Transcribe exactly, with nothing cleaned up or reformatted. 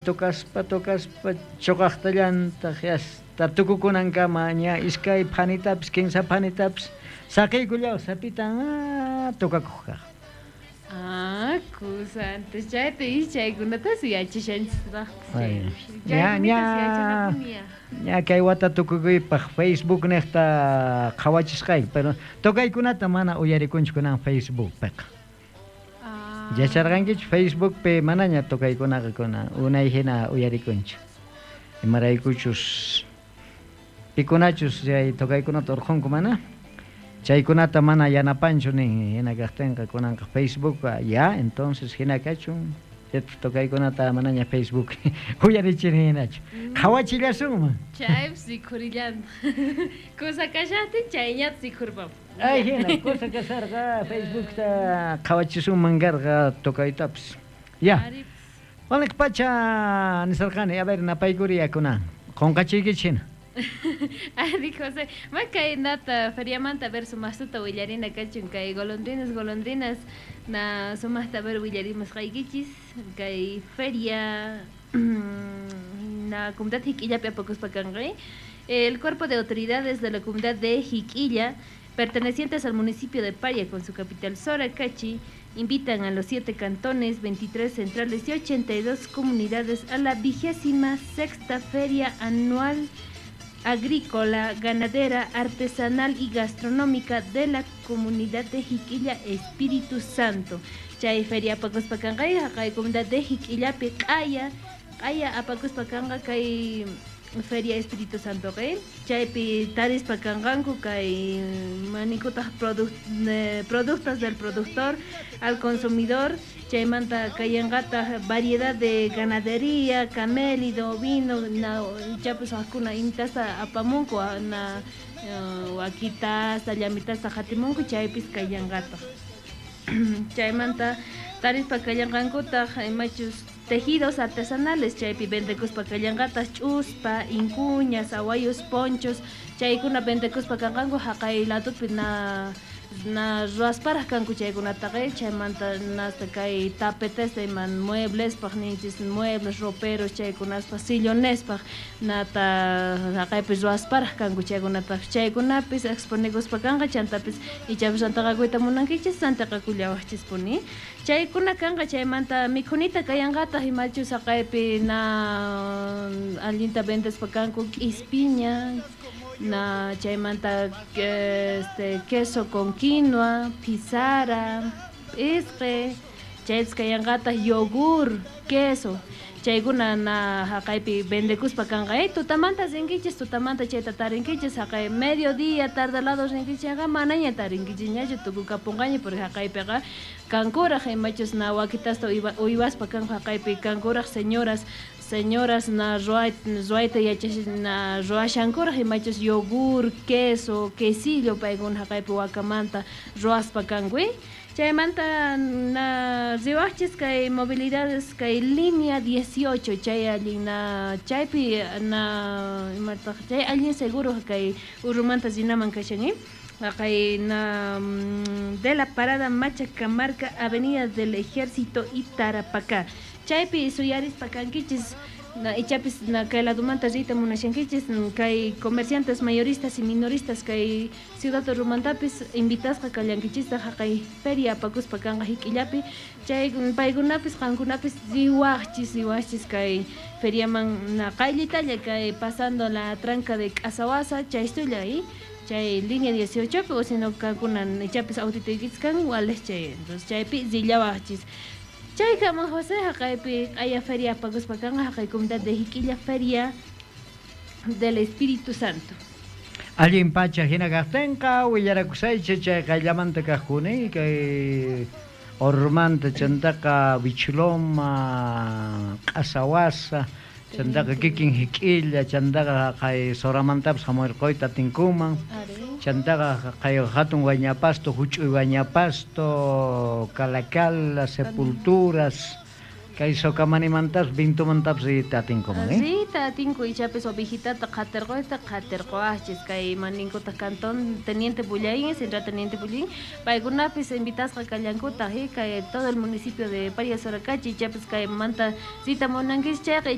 Tocaspa, tocaspa, choqaqtallantaq hasta tukukunankama ña iskay phanitapis, kinsa phanitapis saqiykullaw sapitan ah, tokakuq kaq. Ah, kusa, antes chayta y chaykunatas yachashanchisraqpis. Ay, ña, ña, ña kay wata tukukuypaq Facebook niqta qhawachisqayki, pero tocaykunata mana uyarikunchu kunan Facebookpiqa. Ah. Yacharqankichu Facebookpi manaña tocaykunaqa kunan unay hina uyarikunchu. Imaraykuchus pikunachus chay tocaykunata urqhunku mana chaykunata mana yanapanchu nin hina kaqtinqa kunanqa Facebook ya entonces hina kachun tocaykunata manaña Facebook uyarichini hinachu. Qhawachillasunman. Chaypis rikhurillantaq. Kusa kashaqtin chayñata rikhurpapun. Ay hina kusa kasharqa Facebookta qhawachisunman karqa tocaytapis. Ya. Waliq pacha nisarqani, a ver napaykuri kunan. Qunqachiykichik hina. Ari José, ma kay nata feriamanta ver sumaqtuta willarina kachun kay golondrinas golondrinas na sumaqta ver willarimusqaykichis kay feria na comunidad Jiquillapi apakuspa kanqa. El cuerpo de autoridades de la comunidad de Jiquilla, pertenecientes al municipio de Paria con su capital Soracachi, invitan a los siete cantones, veintitrés centrales y ochenta y dos comunidades a la vigésima sexta feria anual agrícola, ganadera, artesanal y gastronómica de la comunidad de Jiquilla Espíritu Santo. Chay feria apakuspa kanqa kay comunidad de Jiquillapi q'aya, q'aya apakuspa kanqa kay Feria Espíritu Santo kay chaypi tarispa kanqanku kay manikutaq produc-, eh, productos del productor al consumidor, chaymanta kayanqataq variedad de ganadería, camélido, ovino, na ichapis wajkuna intasta apamunku na, eh, wakitasta, llamitasta qatimunku chaypis kayanqataq. Chaymanta tarispa kallanqankutaq imachus tejidos artesanales chaypi vendekuspa kallanqataq ch'uspa, incuñas, awayus, ponchos, chaykuna vendekuspa kanqanku haqay ladopi na na ruwasparaq kanku chaykunataqa, chaymanta hasta kay tapetesta ima mueblespaq ninchis, muebles, roperos chaykunaspaq, sillonespaq nata haqaypi ruwasparaq kanku chaykunataq, chaykunapis exponekuspa kanqa, chantapis ichapis rantaqakuyta munankichis rantaqakullawaqchispuni. Chaykuna kanqa, chaymanta mikhunita kayanqataq imachus haqaypi na allinta vendespa kanku k'ispiña, na chaymanta este queso con quinoa, pizarra, p'isqi, chaypis kayanqataq yogur, queso, chaykuna na haqaypi vendekuspa kanqa. Eh, tutamanta rinkichis, tutamanta chayta tarinkichis, haqay mediodía tarde lado rinkichis chayqa manaña tarinkichisñachu tukukapunqaña, porque haqaypiqa kankuraq imachus na wakitasta uywa-, uywaspa kanku haqaypi kankuraq señoras, señoras na ruay-, ruayta yachash-, na ruwashankuraq imachus yogur, queso, quesillo paykuna haqaypi wakamanta ruwaspa kanku. Chaymanta na riwaqchis kay movilidades kay línea dieciocho chay allin na chaypi na imataq chay allin seguro kay Urumanta rinaman kashan, eh? Kay na, mm, de la parada Machacamarca, Avenida del Ejército y Tarapacá. Chaypi suyarispa kankichis na ichapis na kay ladumanta riyta munashankichis kay comerciantes mayoristas y minoristas kay Ciudad Urumantapis invitasqa kallankichista haqay feria apakuspa kanqa Jiquillapi chay paykunapis qankunapis riwaqchis, riwaqchis kay feriaman na qayllitalla kay pasando la tranca de K'asawasa chaystulla, ¿eh? Chay línea dieciocho o si no kankuna ichapis autituykichis kan wales chay, entonces chaypi rillawaqchis. Chaykaman José haqaypi q'aya feria apakuspa kanqa haqay comunidad de Jiquilla Feria del Espíritu Santo. Allin pacha hina kaqtinqa willarakusaychik chay qayllamanta kaqkuni kay Ormanta chantaqa Bichloma, K'asawasa, chantaqa kikin Jiquilla, chantaqa kay Soramantapas hamurquyta atinkuman. Ari. Chantaqa kay hatun Guañapasto, huch'uy Guañapasto, Calacala, Sepulturas, kay Socamanimantapas, Vintumantapas riyta atinkuman, eh? Riyta atinku, ichapis ovejitata qatirquyta qatirquwaqchis kay maninkutaq cantón Teniente Bullaín, Central Teniente Bullaín, paykunapis invitasqa kallankutaq, eh? Kay todo el municipio de Paria Soracachi, ichapis kay manta riyta munankichis chayqa.